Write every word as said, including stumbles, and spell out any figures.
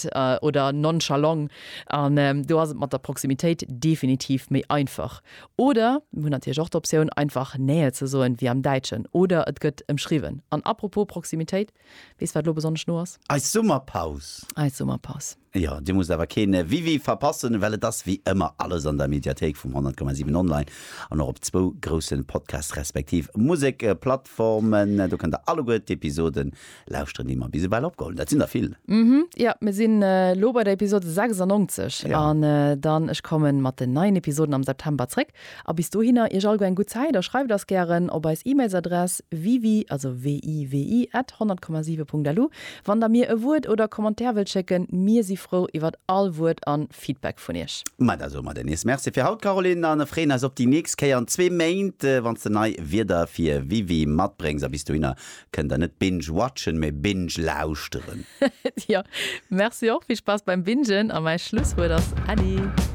nonchalant oder nonchalant. An do ass et mat der Proximitéit definitiv méi einfach. Oder mir hunn natierlech och d'Optioun, einfach Nähe ze soen, wéi am Däitschen. Oder et gëtt ëmschriwwen. An apropos Proximitéit, weess wat elo besonnesch no ass? Eis Summerpaus. Eis Summerpaus. Jo, dir musst awer keen Wiwi verpassen, well et ass wéi ëmmer alles an der Mediathéik vum honnert Komma siwen online an och op zwou groussen Podcast respektiv Musek-Plattformen. Do kënnt der alleguer d'Episoden lauschteren, déi mer bis ewell opgeholl hunn. Dat sinn der vill. Mhm, jo, mir sinn elo bei der Episode sechsundneunzeg an dann ech kommen mat den neien Episoden am September zréck. A bis dohinner iech alleguer eng gutt Zäit a schreift eis gären op eis E-Mails-Adress wiwi, also W I W I, at honnert Komma siwe Punkt L U, wann der mir e Wuert oder Commentaire wëllt schécken. Mir si frou iwwert all Wuert an Feedback vun iech. Ma da soe mer der nees Merci fir haut, Caroline, an freeën eis op déi nächst Kéier an zwee Méint, wann s de nei Wierder fir Wiwi matbréngs. A bis dohinner kënnt der net binge-watchen, mee binge-lauschteren. Jo, merci och. Vill Spaass beim Bingen a mäi Schlusswuert ass Äddi.